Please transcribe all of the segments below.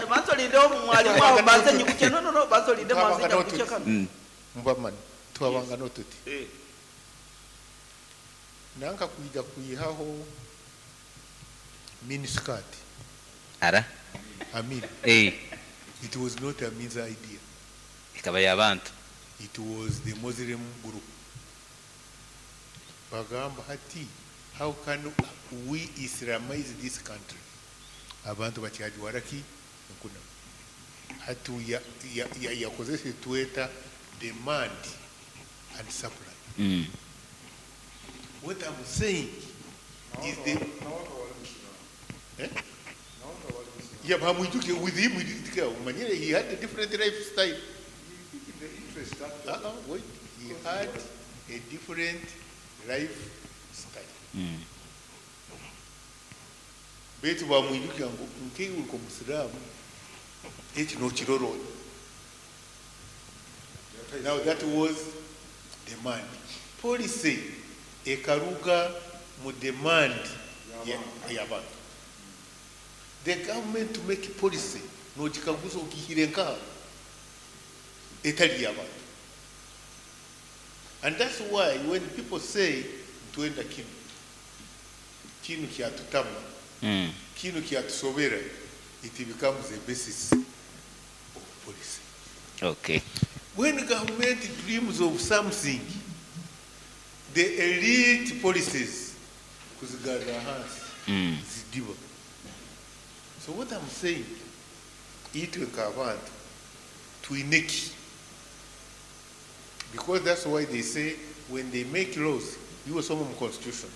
Banza olindeho mwalimu aho mbanze nyigukye. No, no, no, banza olinde mbanze Twabanga nyagukye n'otuti. kanu. Mbamani twabanga n'otuti. Eh. Nanka kwija kwihaho miniskirt. Ara. Amin. Eh. It was not Amin's idea. Ikaba y'abantu. It was the Muslim group. Bagamba hati, how can we Islamize this country? Abantu bakyajwara ki? Enkuna. Hati yakozesa tweta demand and supply. What I'm saying is the... Eh? Yeah, but Mwijuke, with him, we didn't care. Manyere, he had a different lifestyle. Uh-uh, wait. He had a different lifestyle. Baitu bamwijukia ngu nkeiwe uri omusiraamu eki nokirora. Now that was demand. Policy ekaruga mu demand y'abantu. The government to make policy nogikaguza ogihire nkaha etali y'abantu. And that's why when people say twenda kinu, kinu kyatutama, kinu kyatusobera, it becomes a basis of policy. When government dreams of something, the elite policies kuzigarra hansi, zidiba. So what I'm saying, itwe nk'abantu twineki. Because that's why they say when they make laws, you were some constitution,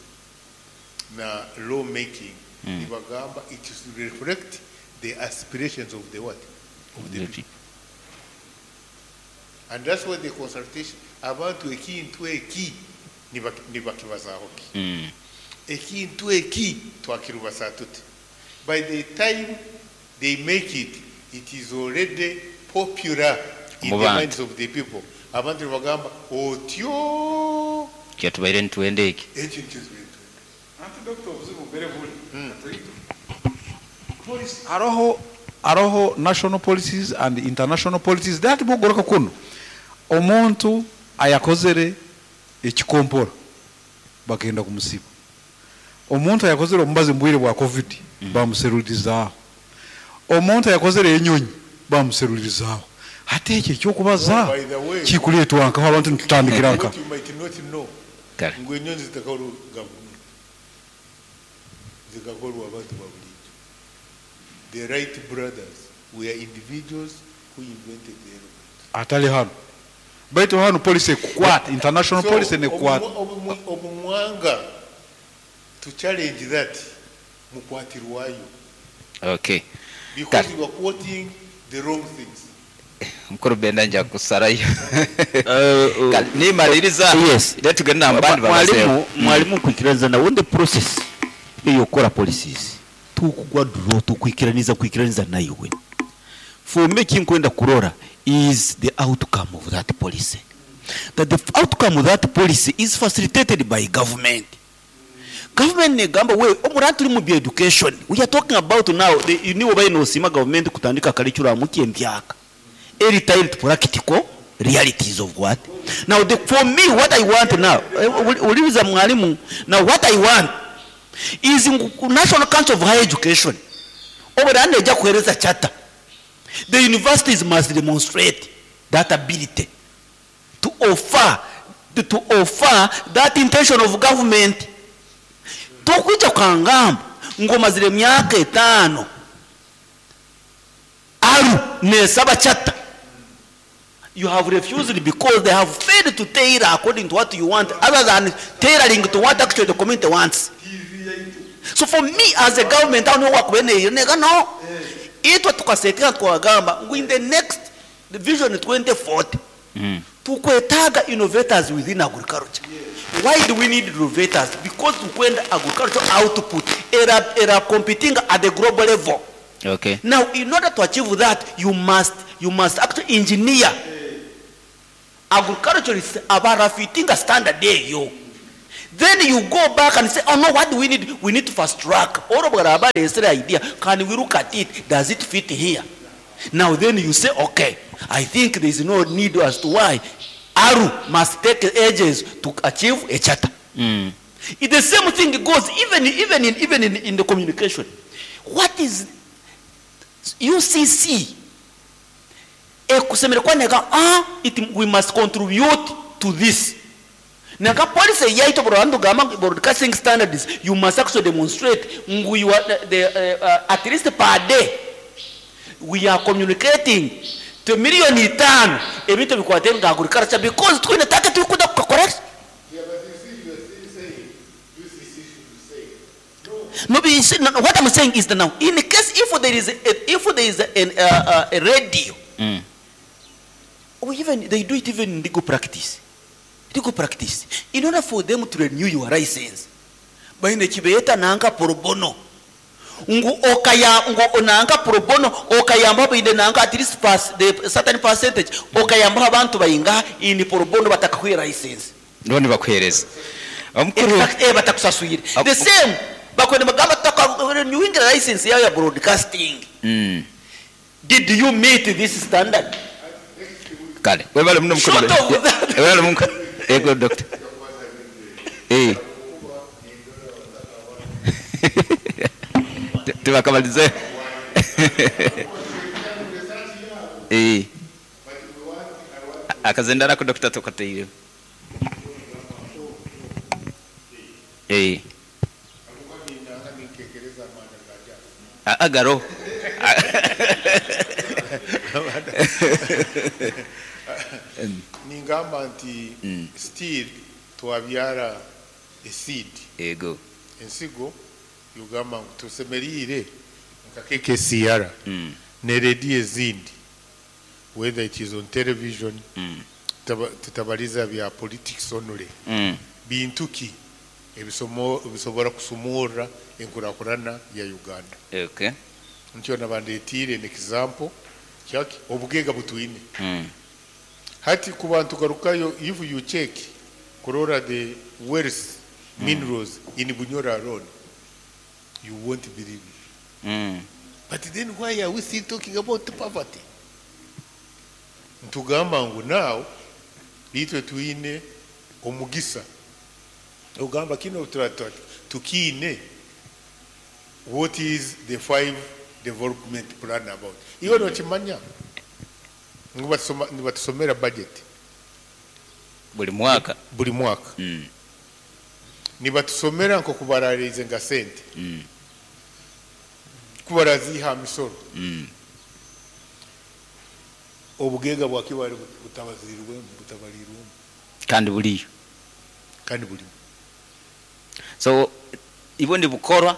na law making, nibagamba it should reflect the aspirations of the what? Of the The people. And that's why the consultation, abantu ekintu eki, nibakibazaho ki. Ekintu eki, twakirubasa tuti. By the time they make it, it is already popular in the Mu bantu. minds of the people. Abantu nibagamba, otyo. Kyatubaire nituwenda eki. Ekyo nikyo tubaire nituwenda. Anti doctor obuzibu mbere buri. Policy. Hariho national policies and international policies that bugoroka kuno. Omuntu ayakozere ekikompora bagenda kumusiba. Omuntu ayakozere omubazi mbwire bwa COVID bamuserulirizaaho. Omuntu ayakozere enyonyi bamuserulirizaaho. Hati ekyo ekyokubaza By the way, kikuleetwa nkaho abantu nitutandikira nka. What you might not know, Kale. ngu enyonyi zitakakorwa gavumenti, zikakorwa abantu ba bulijjo. The Wright brothers were individuals who invented the aeroplane. Atali hano. Baitu hano policy ekukwata, international So, policy nekukwata. Obumwanga to challenge that mukwatirwayo. Because you are quoting the wrong things. Mukuru Benda nja kusarayo. Kale, nimaliriza. Yes. Let tugende na mbandi babazeho. Mwalimu kwikiraniza na wundi process eyokora policies. Tukugwa draw tukwikiraniza kwikiraniza nayo we. For me kinkwenda kurora is the outcome of that policy. That the outcome of that policy is facilitated by government. Government negamba we omuratu uri mu bya education. We are talking about now the niwo bayinosima government kutandika curriculum kyembyaka. Eri tied practical realities of what? Now the, for me what I want now, uliza mwalimu, now what I want is National Council of Higher Education. Oberane ejja kuhereza charter. The universities must demonstrate that ability to offer that intention of government. Tokuja kangamba ngoma zile myaka 5 aru nesaba charter. You have refused because they have failed to tailor according to what you want, other than tailoring to what actually the community wants. So for me as a government, I don't know what we need. No. Itwa tukasekera twagamba in the next vision 2040, tukwetaga innovators within agriculture. Why do we need innovators? Because tukwenda agricultural output era competing at the global level. Now, in order to achieve that, you must actually engineer agriculture is about fitting a standard eyo. Then you go back and say, oh no, what do we need? We need to fast track. All of our idea, can we look at it? Does it fit here? Now then you say, okay, I think there is no need as to why ARU must take ages to achieve a charter. The same thing goes even in the communication. What is UCC? Ekusemere kwaneka it, we must contribute to this. Naka policy yaito broadcasting gama broadcasting standards, you must actually demonstrate ngu you are the at least per day we are communicating to 5 million ebintu bikwate nga agriculture because twine take tukuda correct. Yeah, but you see, you are still saying UCC should say. No, but you see, no, what I'm saying is that now, in case if there is a radio, or even they do it even in legal practice. Legal practice. In order for them to renew your license, baine kibeeta nanka pro bono. Ngu okaya ngu nanka pro bono okayamba baine nanka at least pass the certain percentage okayamba abantu bayinga in pro bono batakakuha license. None bakuhereza omukuru. Exact, batakusaswire. The same bakwenda bagamba tutaka renewing license yayo ya broadcasting. Did you meet this standard? Kale, webale muno, mukuru. Short of that. Webale mukuru. Ego, doctor. Tubakamalize. Akazendara ku doctor tukateire. Ninkekereza amanda gaja. Agaro. Ningamba nti still twabyara a seed. Ensigo yugamba ngu tusemeriire nka KKCR ne rediyo ezindi, whether it is on television, tutabaliza bya politics only, bintu ki ebisobora kusumurra enkurakurana ya Uganda. Ntyo nabandetiire an example kyaki obugega butwine. Hati ku bantu garukayo, if you check kurora the wealth minerals in Bunyoro alone, you won't believe it. But then why are we still talking about poverty? Ntugamba ngu now itwe twine omugisa ogamba kino tukiine. What is the five development plan about? Iwe nokimanya ngu nibatusomera budget buli mwaka. Buli mwaka. Nibatusomera nko kubararize nga sente kubaraziha misoro. Obugega bwakibali butabazirirwemu, butabalirwemu. Kandi buliyo. Kandi bulimu. So ibo nibukorwa.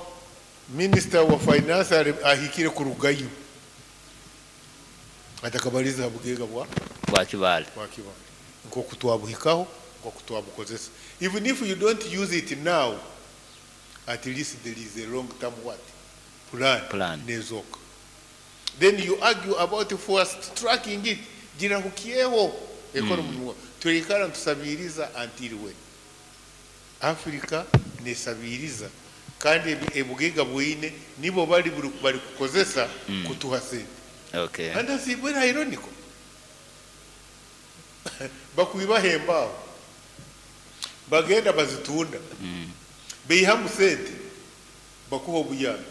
Minister wa finance ahikire kurugayo atakabaliza bugega bwa bwa Kibale. Bwa Kibale, nkoku twabuhikaho, nkoku twabukozesa. Even if you don't use it now, at least there is a long term what plan. Plan. Nezoka then you argue about fast tracking it gira hukieho economy mm. Tulikala ntusabiriza until when? Africa nesabiriza kandi ebugega bwine nibo bali bali kukozesa kutuha sente. And that's very ironical. Bakwibahemba aho bagenda bazitunda, beihamu sente, bakuha obuyambi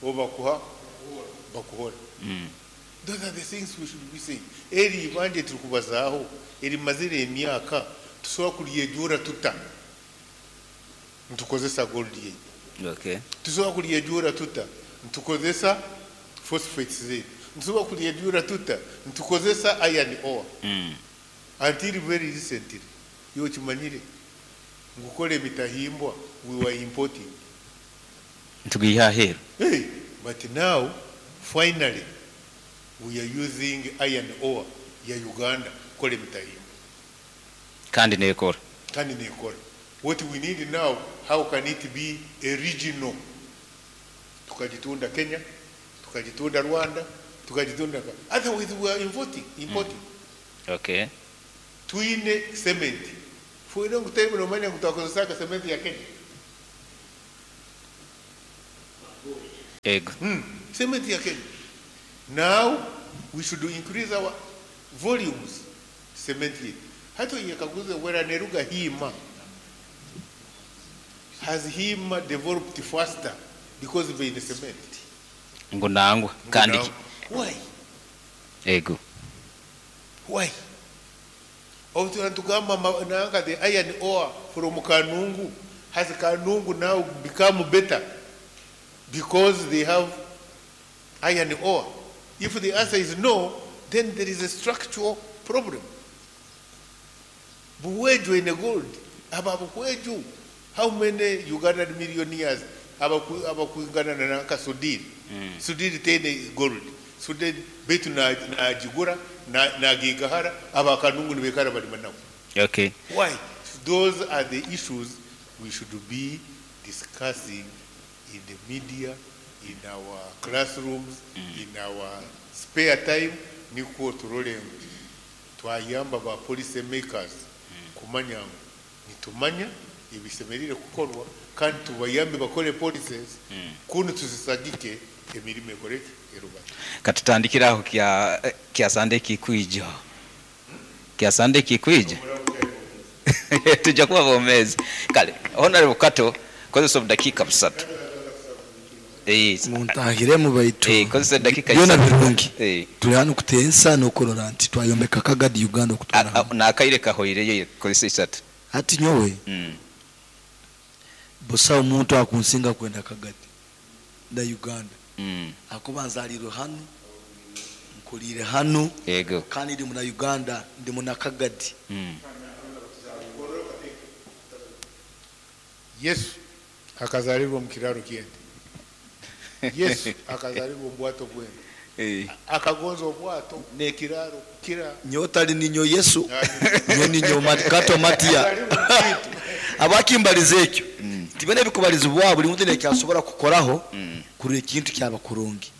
oba bakuha bakuhora. Those are the things we should be saying. Eri ibanje turi kubazaaho erimazire emyaka tusobola kulyejura tuta ntukozesa gold yeitu? Tusobola kulyejura tuta ntukozesa phosphates zetu? Ntusobola kulyejura tuta ntukozesa iron ore? Until very recently, yo kimanyire ngukora emitahimbwa, we were importing. Tugiha aheru. Hey, but now finally we are using iron ore ya Uganda kukora emitahimbwa. Kandi nekora. Kandi nekora. What we need now, how can it be a regional, tukajitunda Kenya, tukajitunda Rwanda, tukajitunda. Otherwise we are importing. Okay. Twine cement. For a long time nomanya ngu twakozesaga cement ya Kenya. Ego. Cement ya Kenya. Now we should increase our volumes cement yaitu. Hati oyekaguze wera neruga Hima. Has Hima developed faster because baine cement? Ngu nangwa kandi Now, why? Ego. Why? Obu tuba nitugamba nanka the iron ore from Kanungu, has Kanungu now become better because they have iron ore? If the answer is no, then there is a structural problem. Buhweju in gold. Aba Buhweju, how many Ugandan millionaires abakwingana na nanka Sudhir? Sudhir tene gold. Sudhir betu na jigura na gigahara aba Kanungu nibekara bali manawo. Okay. Why? Those are the issues we should be discussing in the media, in our classrooms, in our spare time. Nikwo turore ngu twayamba ba policy makers kumanya ngu nitumanya ebisemerire kukorwa kandi tubayambe bakore policies kunu tuzisagike emirimo ekoreke erubate. Katutandikira aho kya Sunday kikwija. Kya Sunday kikwija. Tujja kuba bomezi. Kale, Honorable Kato, kozesa obudakika busatu. Muntahiremu baitu. Kozesa edakika Byona isatu. birungi. Turi hano kutensa n'okurora nti twayombeka Kagadi Uganda okutwara hamwe. Nakaire kahoireyo kozesa isatu. Hati nyowe. Busa omuntu akunsinga kwenda Kagadi na Uganda. Akuba nzalirwe hano, nkulire hano. Yego. Kandi ndi muna Uganda, ndi muna Kagadi. Yesu akazalirwa mu kiraro ky'ente. Yesu akazalirwa mu bwato bw'ente. Akagonza obwato n'ekiraro kira. Nyotali ninyo Yesu. Nyo ninyo Kato Matia. Abakimbaliza ekyo. Tibene bikubalizibwa buli muntu nekyasobora kukoraho kurira ekintu kyaba kurungi.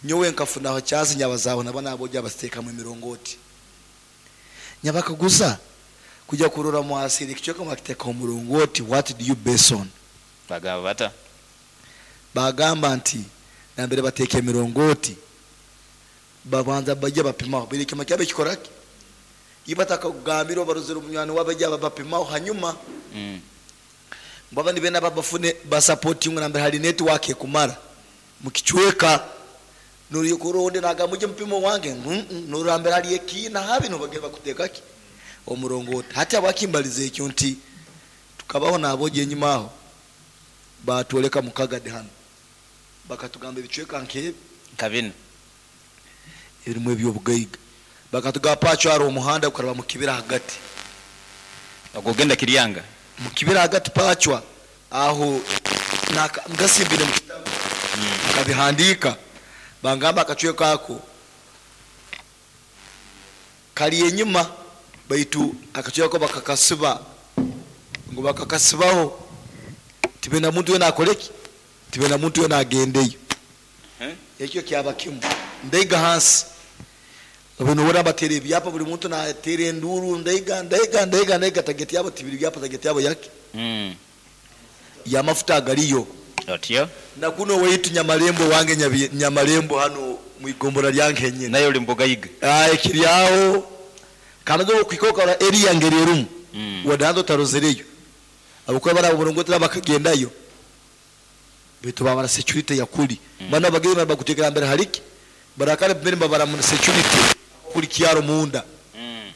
Nyowe nkafunaho kyazi nyabazaho naba nabojja abasiteekamu emirongoti. Nyabakaguza kujya kurora mwasiri ekichweka mwakiteeka omurongoti, what do you base on? Bagamba bata? Bagamba nti nambere bateeka emirongoti babanza bajya bapimaho biri kima kyabe kikoraki ibatakagambira baruzira omunywani wabajya bapimaho hanyuma baba ni bena babafune basupporting nambere hari network ekumara mukichweka nuri kuronde nagamuje mpimo wange nurambere hari ekina habi no bageba kutekaki omurongoti hati abakimbalize ekyo nti tukabaho naboje enyuma aho batwoleka mukagadi hano bakatugamba ebichweka nke kabina ebirimu ebyobugaiga bakatugamba pacho ari omuhanda ukaraba mukibira hagati ogenda Kiryanga mukibira hagati pachwa aho ngasimbire mu kitabu kabihandika bangamba akachweka ako kali enyuma baitu akachweka bakakasiba ngo bakakasibaho tibena muntu yena akoleki tibena muntu yena agendeyo. Ekyo kyaba kimu ndaiga hansi bino wora batera ebyapa buli muntu natera enduru ndaiga ndaiga ndaiga ndaiga tageti yabo tibiri byapa tageti yabo yake ya mafuta agaliyo otyo na kuno weitu Nyamalembo wange Nyamalembo hano mwigombora lyange nyene nayo uli mbugayiga ekiryaho kanazo kwikoka area ngererumu wadanzo tarozereyo abuko bara burongotera bakagendayo bitu babara security yakuli bana bagenda bakutekera mbere hariki barakare mbere babara mu security kuri kyaro munda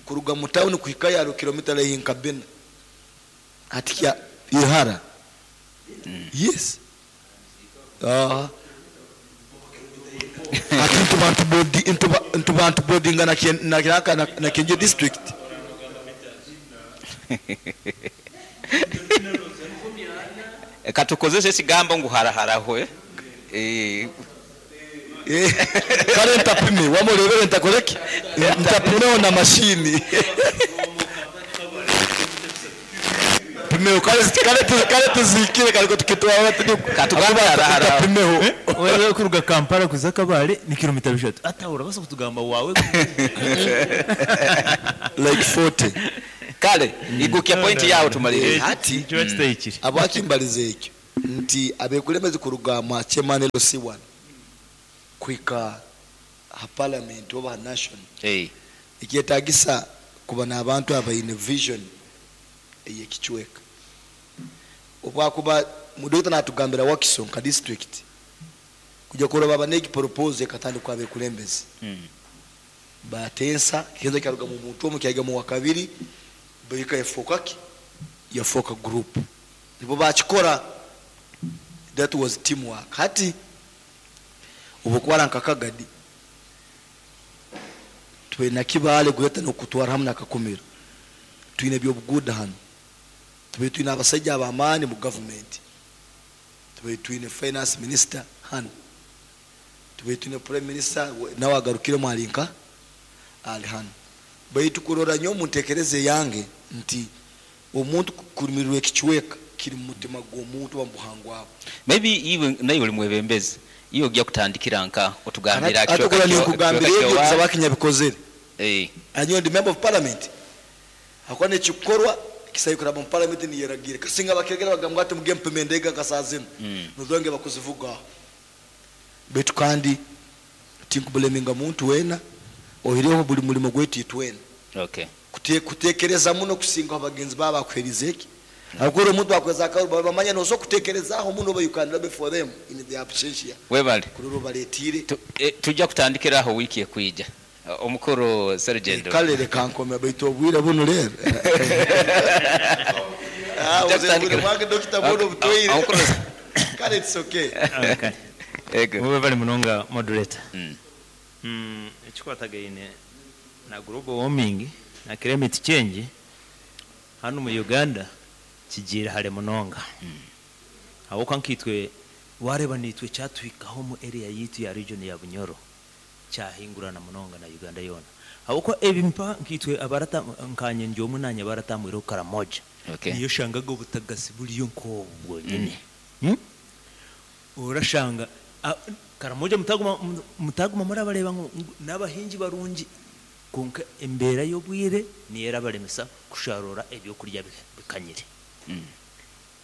kuruga mu town kuhika yaro kilomita lehinka bina ati kya ihara yes ati ntubantu bodi ntubantu bodi ngana na kiraka na Kenje district Katukozese sigambo ngu haraharaho Kare ntapime wamurebere ntakoreke ntapimeho na mashini pimeho kare kare tuzikire kare tukitwara Katugamba harahara. ntapimeho Wewe kuruga Kampala kuza Kabale ni kilomita 3 ata urabasa kutugamba wawe like 40. Kale igukya point yawe tumalirize. Hati Nikiba kitahikire. Habwaki mbalize ekyo nti abekulembezi kuruga mwa chairman LC1 kuhika ha parliament oba ha national nikyetagisa kuba n'abantu abaine vision ey'ekicweka. Obwakuba Dokita natugambira Wakiso nka district kuja kurora baba n'egi proposal ekatandikwa abekulembezi batensa kigenzo kyaruga mu muntu omu kyaiga mu wakabiri bahika yafoka ki yafoka group nibo bakikora. That was teamwork. Hati obukwara nka Kagadi twina Kibale gweta nokutwara hamu nakakumiro twine ebyobuguuda hanu tube twine abasaija ab'amaani mu government, tube twine finance minister hanu, tube twine prime minister nawe agarukiremu ali nka ali hanu. Baitu kurora nyowe omu ntekereza eyange nti omuntu kurumirirwa ekicweka kiri mu mutima gw'omuntu oba mu buhangwa bwe. Maybe iwe naiwe oli mwebembezi, iwe ojja kutandikira nka otugambira Ate kicweka kora ninkugambira ebyo kyowa. kusaba kinyabikozere. Anyowe ndi member of parliament. Hakuba nekikorwa kisayo kuraba mu parliament niyeragire. Kasinga bakiregera bagamba ati muge mpime endega nka saa zinu. Nuzonge bakuzivuga. Baitu kandi tinkubuleminga muntu wena ohireho buli mulimo gwaitu itwena. Kutekereza muno kusinga abagenzi baba bakuherize eki. Hakuri omuntu akweza akaru bamanya noso kutekerezaho muno ba you can lobby for them in the absentia. Webale. Kururu baletire. Tujja kutandikiraho wiki ekwija. Omukuru Sergeant. Kale reka nkome baitu obwire buno rero. Tujja kutandikira. Mwake Dr. Bono butweire. Omukuru. Kale it's okay. Okay. Ego. Webale munonga moderator. Ekikwatagaine na global warming na climate change hano mu Uganda kigira hare munonga. Aho nkitwe wareba nitwe cyatwikaho mu area yitu ya region ya Bunyoro cyahingurana munonga na Uganda yona. Aho ebimpa nkitwe abarata nkanye njo munanya baratamwiro Karamoja. Niyo shangaga obutagasi buriyo nko bwonyine. Urashanga Karamoja mutaguma murabareba ngo n'abahingi barungi konka embera y'obwire niyera baremesa kusharura ebyo kurya bikanyire.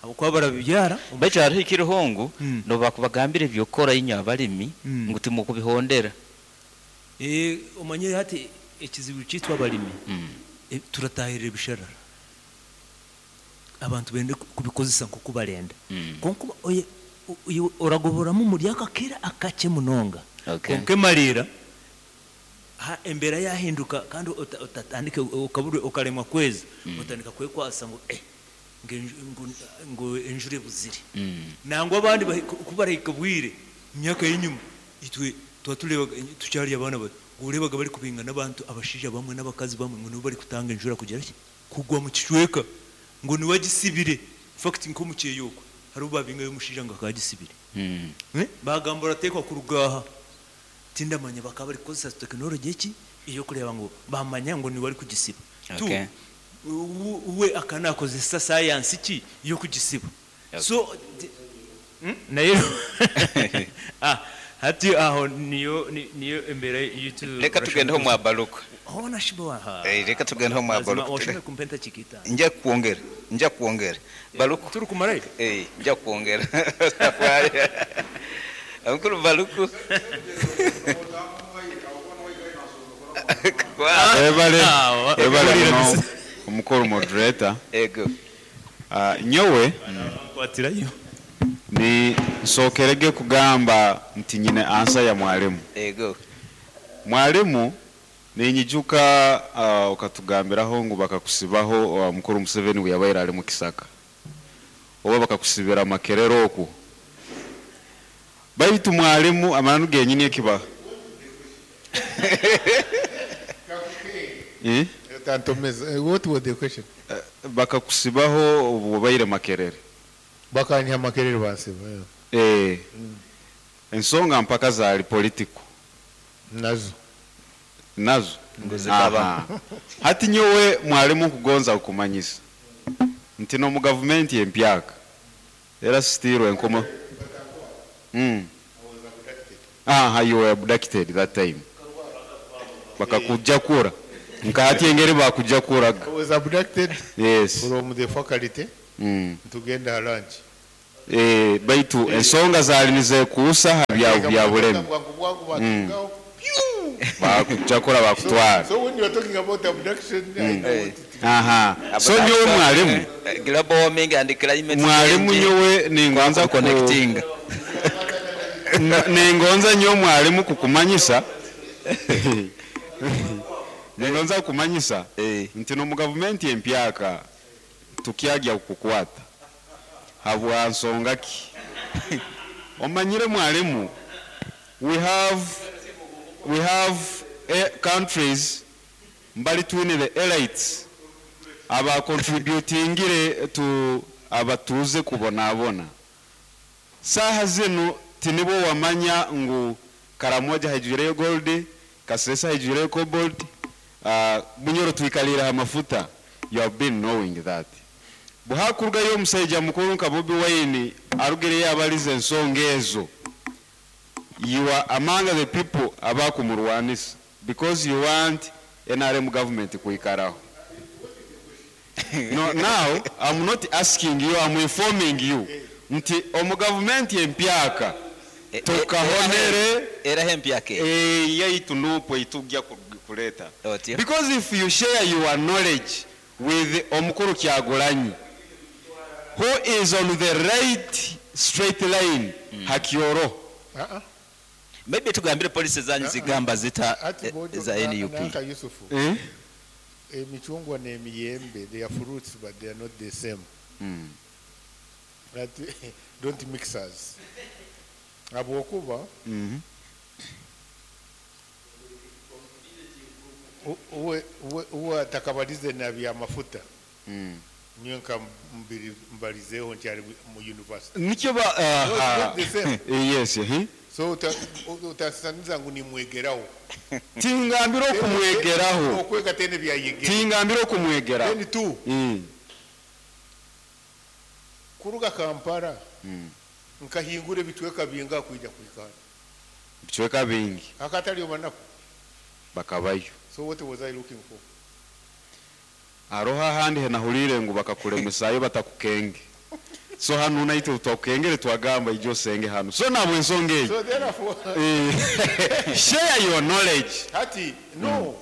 Abo kwa barabibyara baitu hariho ikirihongo no bakubagambira ebyokora inywe abalimi ngu timukubihondera. Omanyire hati ekizibu kitwa abalimi. Turatahirira ebisharara. Abantu bende kubikozesa nko kubarenda. Konka oye oragoboramu muri akakira akache munonga. Konka emarira ha embera yahinduka kandi utatandike ukabure ukaremwa kwezi utandika kwekwasa ngo ngo enjure buzire. Nangwa abandi kubareka bwire imyaka y'inyuma itwe twatureba tucyari abana bato urebaga bari kubinga n'abantu abashija bamwe n'abakazi bamwe ngo nibo bari kutanga enjura kugera ki kugwa mu kicweka ngo niwagisibire fact nko mu cyeyoko hari ubabinga y'umushija ngo akagisibire. Bagambura tekwa kurugaha tindamanya bakaba bari koza technology ki iyo kureba ngo bamanya ngo ni wari kugisiba. We akanakozesa science ki iyo kugisiba. So nayo hati aho niyo niyo embere yitu reka tugendeho mwa baruka. Hona shibo ha. Reka tugendeho mwa baruka. Washime kumpenta chikita. Nja kuongera. Baruka turi kumara. Nja kuongera. Safari. Mkuru Baruku. Ebale. Ebale no omukuru moderator. Ego. Nyowe kwatirayo. Ni nsokerege kugamba nti nyine ansa ya mwalimu. Ego. Mwalimu ninyijuka ukatugambiraho ngu bakakusibaho mukuru Museveni we yabaire ali mu Kisaka. Oba bakakusibira Makerere oku. Baitu mwalimu amananu genyini ekiba. What was the question? Bakakusibaho obubaire Makerere. Bakanya Makerere basiba. Ensonga mpaka zali political. Nazo. Nguzikaba. Hati nyowe mwalimu kugonza okumanyisa. Nti no mu government empyaka. Era still enkomo. You were abducted that time. Bakakuja kura. Nka hati engeri bakujakuraga. I was abducted Yes. from the faculty tugenda ha lunch. Eh, baitu ensonga zaali nizekuusa ha bya bulemi. Bwangu bwangu batungaho. Pew! Bakujakura bakutwara. So when you are talking about abduction, I know what it is. Aha. So nyowe mwalimu, Global warming and climate mwalimu change. nyowe ningonza ku Connecting. Ningonza nyowe mwalimu kukumanyisa. Ningonza kukumanyisa Eh. nti no mu gavumenti empyaka tukyagya kukukwata habwa nsonga ki? Omanyire mwalimu, we have countries mbali twine the elites aba contributingire to abatuze kubonabona. Saha zinu tinibo wamanya ngu Karamoja haijuireyo gold, Kasesa haijuireyo cobalt, Bunyoro twikalira amafuta. You have been knowing that. Buhakurugayo omusajja mukuru nka Bobi Wine arugireyo abalize ensonga ezo. You are among the people abakumurwanisa because you want NRM government kuikaraho. No, now I'm not asking you, I'm informing you. Nti omu government empyaka tukahonere Era empyaka yaitu nupo itujja kuleta. Otyo. Because if you share your knowledge with omukuru Kyagulanyi, who is on the right straight line, hakioro. Uh-uh. Maybe tugambire policy zanyu zigamba zita Ati bojo za NUP. Nanka Yusufu. Eh? Emicungwa n'emiyembe, they are fruits but they are not the same. That, don't mix us. Habwokuba uwe atakabalize na bya mafuta. Niyo nka mbalizeho nkyali mu university. Nikyo ba, No, it's not the same. Yes, eh? So utasaniza ngu nimwegeraho. Tingambira okumwegeraho. Okwega tene byayegera. Tingambira okumwegeraho. Then two. Kuruga Kampala. Nkahingura ebitweka binga kwija kwikara. Bitweka bingi. Akatali obanaku. Bakabayo. So what was I looking for? Aroha handi henahulire ngu bakakulemesayo batakukenge. So hano naite utwakukengere twagamba ijo senge hano. So nabwe ensonga eyo. So therefore, Share your knowledge. Hati, no.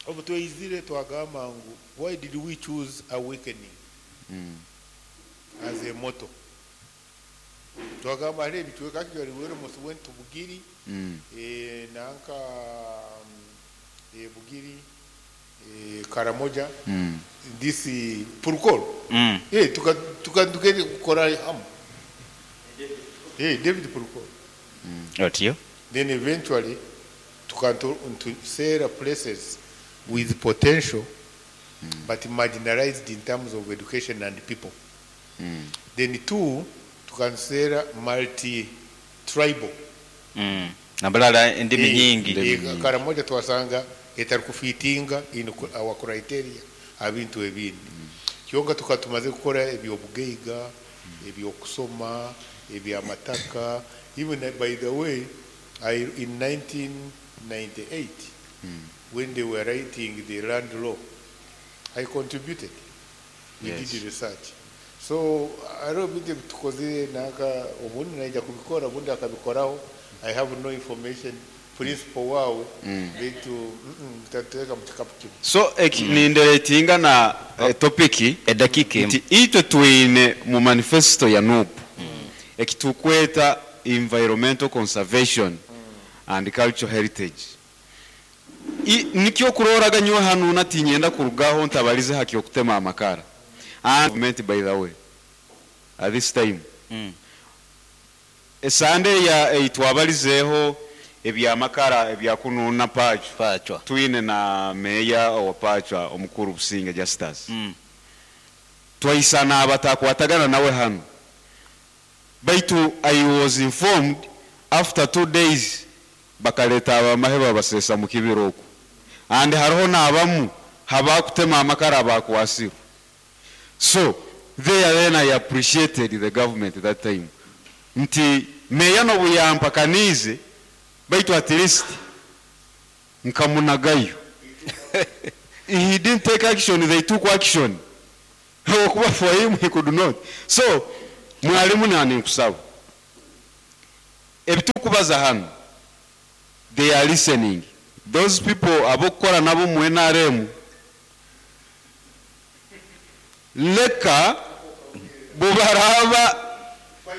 Obu tweyizire twagamba ngu why did we choose awakening as a motto? Twagamba hariho ebitweka actually we almost went to Bugiri, nanka, Bugiri, Karamoja, this Purukol. Tukagenda kukora hamu. David Purukol. Otyo. Then eventually tukanto to sell places with potential but marginalized in terms of education and people. Then two, tukansera multi-tribal. Nabalala endimi nyingi. Karamoja twasanga etarikufitinga in our criteria abintu ebindi. Kyonka tukatumaze kukora ebyobugeiga, ebyokusoma, ebyamataka. Even by the way, in 1998, when they were writing the land law, I contributed. We did research. So I don't think tukoze naka obundi naija kubikora obundi akabikoraho. I have no information. Principal wao bitu tateka mu kikapu kimwe. So ninderetinga na topic edakika nti itwe twine mu manifesto ya NUP ekitukweta environmental conservation and cultural heritage. Nikyo kuroraga nyo hanu natinyenda kurugaho ntabalize haki okutema amakara. And government by the way at this time esande ya itwabalizeho ebyamakara ebyakununa Pachwa. Twine na meya wa Pachwa omukuru Businge Justus. Twaisana abatakwatagana nawe hano. Baitu I was informed after 2 days bakaleta abamahe babasesa mu kibiroko. And hariho n'abamu habakutema amakara abakwasirwe. So there then I appreciated the government that time. Nti meya no buyampakanize baitu at least nkamunagayo. He didn't take action, they took action. Habwokuba for him he could not. So, mwalimu naninkusaba. Ebitukubaza hanu, they are listening. Those people abokukora nabo mu NRM, leka bubaraba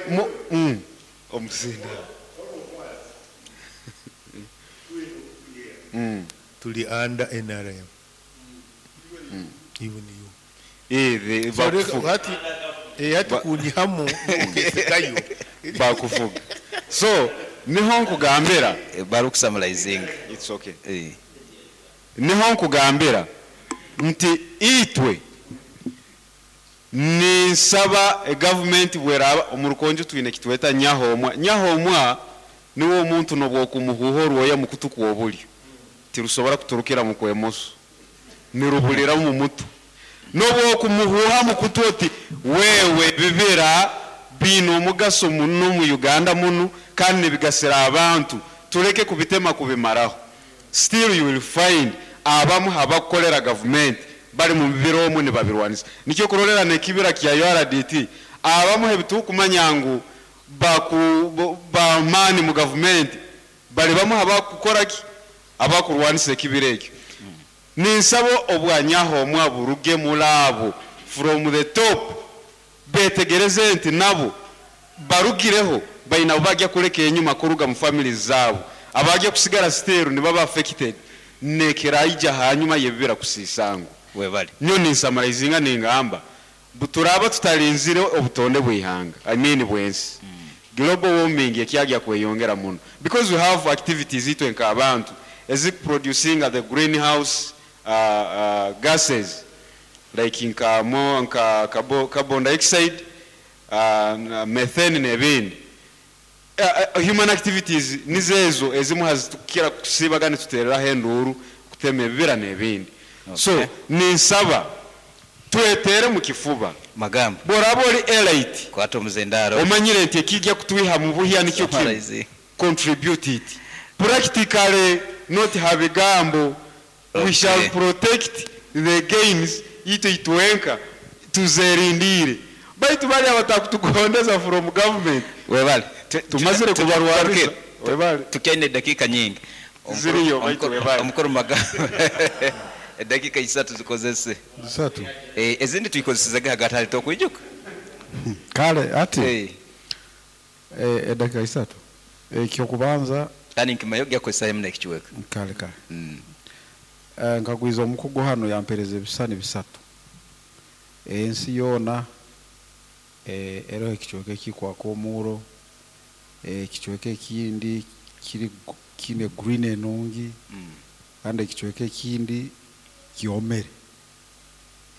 mu omuzinda. Tuli under NRM. Even you. Eh, So reka- bakufuga. hati hati kunyihamu ukesekayo. Bakufuga. So, niho nkugambira. Barukusamalizinga. It's okay. Niho nkugambira nti itwe ninsaba government bweraba omurukonjo twine kitweta nyahomwa. Nyahomwa niwo omuntu nobwokumuhuho orwoya mukutu kwobulyo tirusobora kuturukira mu kwemoso, nirubulira mu mutu. Nobwokumuhuha mukutu oti wewe bibira bino omugaso muno mu Uganda muno kandi nibigasira abantu, tureke kubitema kubimaraho. Still you will find abamu abakukolera government bari mu bibira omwe nibabirwanisa. Nikyo kurorera nekibira kya URDT abamu ebitukumanya ngu bamani mu government bari bamu abakukora ki abakurwanisa ekibira ekyo. Ninsaba obwanyaho omwa buruge mulabo from the top betegereze nti nabo barugireho bayina bajya kureka enyuma kuruga mu families zabo abajya kusigara still ni baba affected nekeraija hanyuma yebibira kusisango webale. Nyo ninsamarizinga ningamba buturaba tutarinzire obutonde bwihanga, I mean bwensi. Global warming ekyagya kweyongera muno because we have activities itwe nka abantu producing the greenhouse gases like nka mo nka carbon dioxide, methane n'ebindi. Human activities nizezo ezimu hazitukira kusibagana tuterera henduru kutema ebibira n'ebindi. So ninsaba twetere mu kifuba magambo boraba ori elite kwata omuzendaro omanyire nti ekijja kutwiha mu buhya nikyo kimwe Summarize. contribute it practically not habigambo. We shall protect the gains ito itwenka tuzerindire baitu bali abatakutugondeza from government webale tumazire kubarwariza webale tukaine dakika nyingi Ziriyo, baitu webale. Omukuru magambo edakika 3 zikozese 3 ezindi tuyikozesezege hagati hari tokwijuka kale ati edakika 3 ekyokubanza kandi nkimayo gyakozesa hemu nekikiweka kale kale. Nkagwiza omukugu hano yampereza ebisani 3 ensi yoona eriho ekichweka ekikwaka omuuro, ekichweka ekindi kiri kine green enungi, kandi ekichweka ekindi kyomere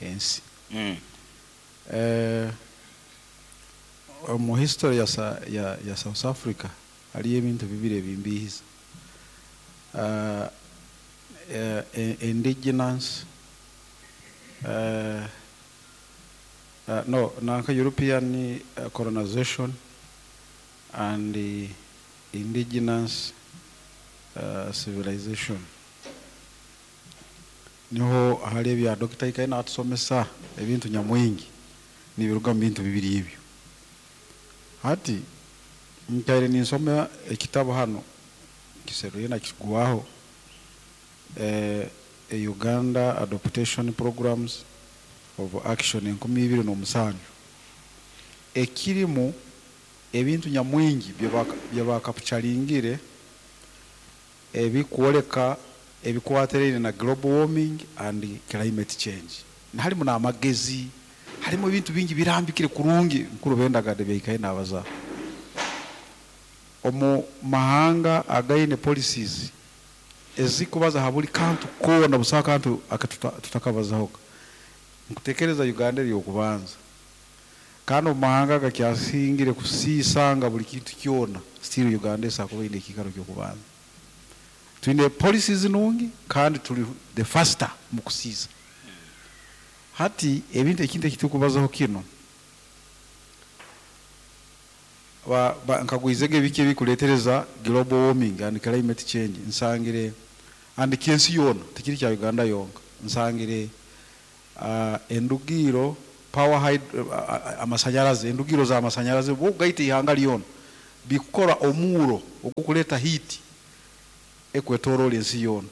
ensi. Mu history ya South Africa hariyo ebintu bibiri ebimbihiza. Indigenous, no, nanka European colonization and the indigenous civilization. Niho hali ebya Dr. Ikaina atusomesa ebintu nyamwingi nibiruga mu bintu bibiri ebyo. Hati nkaire ninsoma ekitabo hano kiseruye na kigwaho, Uganda Adaptation Programs of Action 2007 ekirimu ebintu nyamwingi byebakapucharingire ebikwoleka ebikwaterere na global warming and climate change. Harimu n'amagezi, harimu ebintu bingi birambikire kurungi mukuru bendagade byaikaye nabaza. Omu mahanga againe policies ezikubaza habuli kantu kona busa kantu akatutakabazaho. Nkutekereza Uganda eri okubanza. Kandi omu mahanga gakyasingire kusisanga buli kintu kyona, still Uganda esakuba ine ekikaro ky'okubanza. Twine policies nungi kandi tuli the faster mu kusiisa. Hati ebintu ekintu ekitukubazaho kino nkagwizege biki ebikuletereza global warming and climate change nsangire and kensi yona tikiri kya Uganda yonka. nsangire endugiiro power hyd- amasanyarazi endugiiro za masanyarazi obugaita ihanga lyona bikukora omuuro ogukuleeta heat ekwetoroora ensi yoona.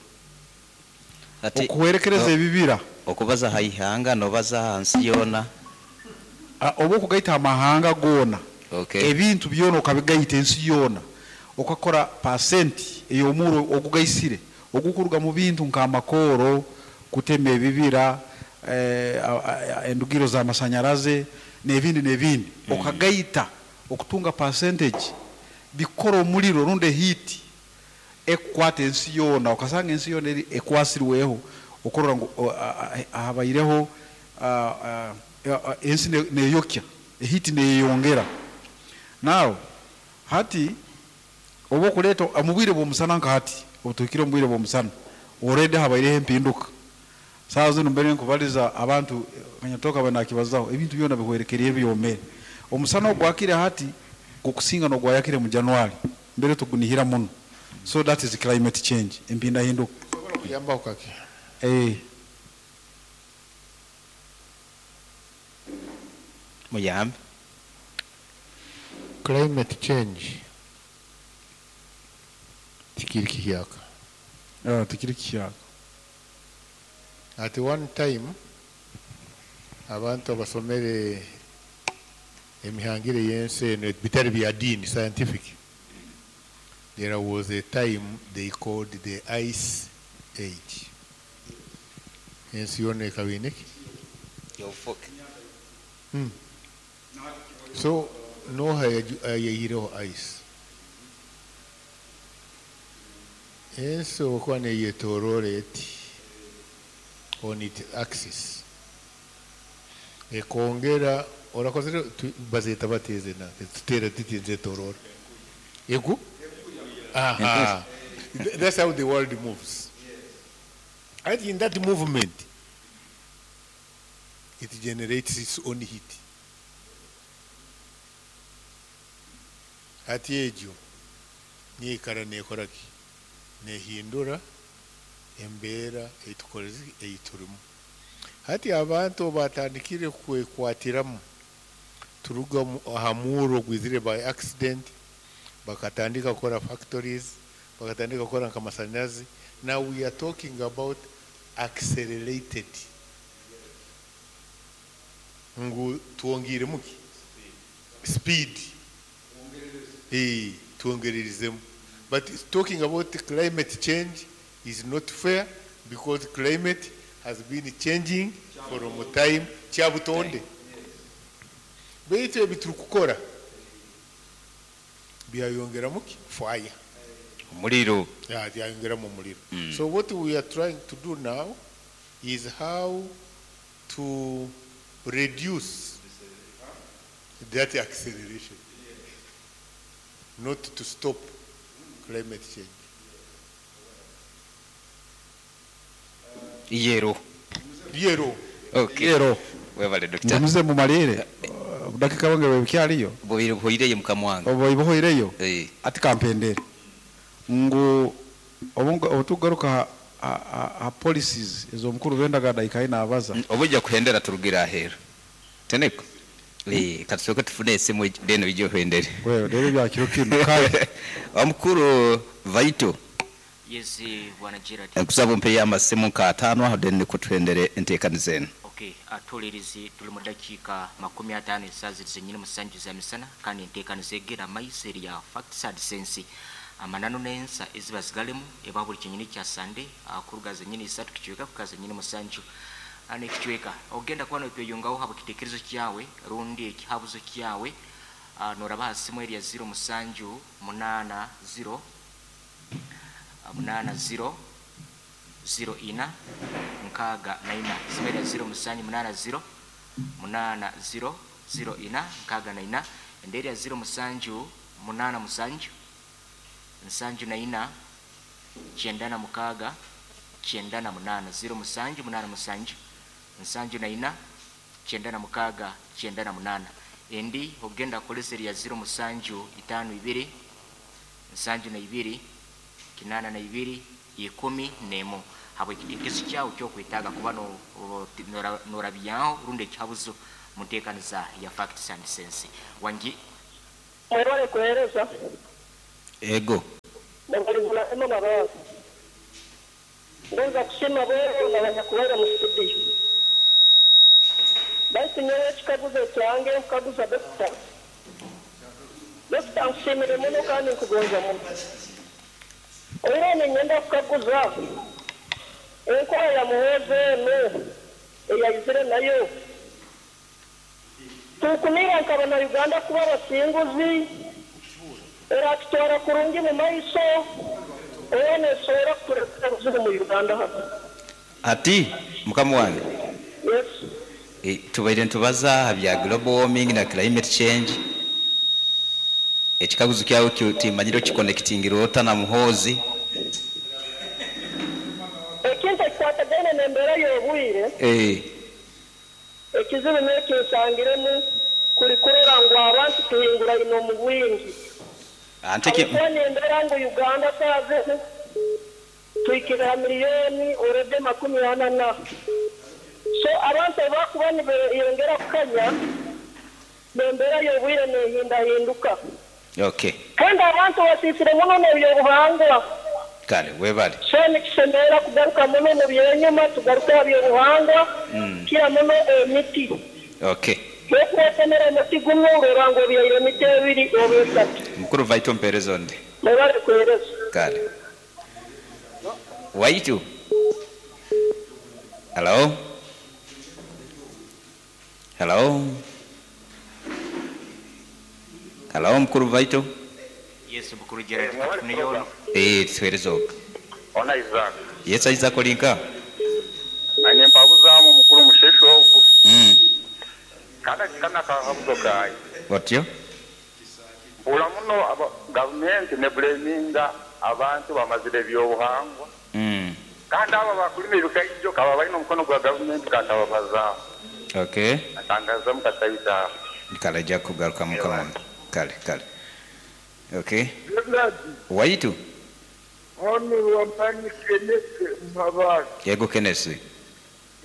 Ati Okuhwerekereza ebibira. Okubaza ha ihanga nobaza ha nsi yoona. Oba okugaita amahanga goona. Okay. Ebintu byona okabigaita ensi yoona okakora pasenti ey'omuuro ogugaisire ogukuruga mu bintu nk'amakooro, kutema ebibira, endugiro z'amasanyaraze n'ebindi n'ebindi okagaita okutunga percentage bikukora omuriro rundi ehiiti ekukwata ensi yoona okasanga ensi yoona eri ekwasirweho okurora ngu habaireho ensi neyokya ehiiti neyeyongera. Now hati obu okureeta omu bwire bw'omusana nka hati obu tuhikire omu bwire bw'omusana already habaireho empinduka. Saaha zinu mbere nkubaliza abantu Kanyatoka abaire nakibazaho ebintu byona bihwerekeriire byomere. Omusana ogwakire hati gukusinga n'ogwayakire mu January mbere tugunihira muno so that is climate change empindahinduka. Nsobora kuyambaho kake? Eeh. Muyambe. Climate change tikiri kihyaka. Tikiri kihyaka. At one time abantu abasomere emihangire y'ensi eno bitari bya diini, scientific, there was a time they called the ice age. Ensi yoona ekaba eine ki? Obufuke. So noha ayayihireho ice? Ensi obukuba neyetoroora eti on its axis ekongera orakozire bazeta bata ezi enanka ezituteera tuti nizetoroora egu aha that's how the world moves hati in that movement it generates its own heat hati egyo neikara nekora ki nehindura embeera ei turimu. Hati abantu obu batandikire kwekwatiramu turuga aha muuro ogwizire by accident, bakatandika kukora factories, bakatandika kukora nk'amasanyarazi, now we are talking about accelerated ngu twongiiremu ki? Speed. Twongererizemu. But talking about climate change is not fair because climate has been changing from time kyabutonde. Beitu ebi turikukora byayongeramu ki? Fire. Omuriro. Yeah, byayongeramu omuriro. So what we are trying to do now is how to reduce that acceleration, not to stop climate change. Yero. Yero. Okay. Yero. Webale doctor. Ngumize mumalire budakika bwange bwebukyariyo. Buhire buhoireyo mukama wange. Obu buhoireyo. Ati kampendere ngu obutugaruka ha policies ez'omukuru bendaga daika ina abaza. Obujja kuhendera turugira ahera. Teneko. Katusooke tufune esimu then ije ohendere. Wewe rero bya kiro kino kale. Omukuru Vaito. Yes, Bwana Gerard. Nkusaba ompeyo amasimu nka ataano aho then nikwo tuhendere enteekaniza enu. Okay, atuhulirizi tuli mu dakiika 50 esaaha ziri zenyini musanju za misana kandi enteekaniza egera maiso eri ya Facts and Sense. Amananu n'ensa eziba zigalemu eba buli kyenyini kya Sande kuruga zenyini isatu kicweka kuhika zenyini musanju n'ekicweka. Ogenda kuba notweyungaho habw'ekitekerezo kyawe rundi ekihabuzo kyawe noraba ha simu eri ya ziro musanju munaana ziro munaana ziro ziro ina nkaaga na ina. Simu eri ya ziro musanju munaana ziro munaana ziro ziro ina nkaaga na ina. Endi eri ya ziro musanju munaana musanju nsanju na ina kyenda na mukaaga kyenda na munaana. Ziro musanju munaana musanju nsanju na ina kyenda na mukaaga kyenda na munaana. Endi ogenda kukozesa eri ya ziro musanju itaano ibiri nsanju na ibiri kinaana na ibiri ikumi n'emu. Habw'ekitekerezo kyawe kyokwetaaga kuba norabyaho rundi ekihabuzo mu nteekaniza ya Facts and Sense. Wangi. Mwebale kuhereza. Ego. Mubalizula Emma Mabaso. Ngonza kusiima boona abanyakubaire mu studio. Baitu nyowe ekikaguzo ekyange nkukaguza Dokita. Dokita nkusiimire muno kandi nkugonza muno. Oihireho ninyenda kukaguza enkora ya Muhoozi enu eyaizire nayo tukumira nka bana Uganda kuba abasinguzi, eratutwara kurungi mu maiso oba nesobora kutuletera ebizibu mu Uganda hanu? Hati mukama wange. Yes. Tubaire nitubaza aha bya global warming na climate change. Ekikaguzo kyawe timanyire okikonectingire ota na Muhoozi. Ekintu ekikwatagaine n'embeera y'obwire. Ekizibu n'eki nsangiremu kuri kurora ngu abantu tuhinguraine omu bwingi. Habwokuba nindora ngu Uganda saaha zinu tuhikire ha miriyoni already 40 na. So abantu obu bakuba nibeyongera kukanya, n'embeera y'obwire nehindahinduka. Kandi abantu basiisire muno n'eby'obuhangwa. Kale webale. So nikisemerera kugaruka muno omu by'enyima tugaruke aha by'obuhangwa kukira muno emiti. Bwokuba otemere omuti gumwe orora ngu obyaire emiti ebiri oba esatu. Mukuru vaitu ompereze onde. Mwebale kuhereza. Kale. Waitu. Hello. Hello. Hello mukuru vaitu. Yes mukuru Gerald katufuneyo ono. Eeh tuhereze ogwo. Hona Isaac. Yes Isaac ori nkaha? Nanye mpabuzamu mukuru Musheshe ogu. Kandi aka nakahabuzo kangye. Otyo? Mpurira muno aba gavumenti nebleminga abantu bamazire ebyobuhangwa. Kandi abo abakurima ebikaijo kaba baine omukono gwa gavumenti kantababazaho. Natangazizamu kasayidi aho. Kale aija kugarukamu mukama wange. Kale kale. Okay. Waitu. Hon Wamani Kenneth Mpabazi. Yego Kenneth.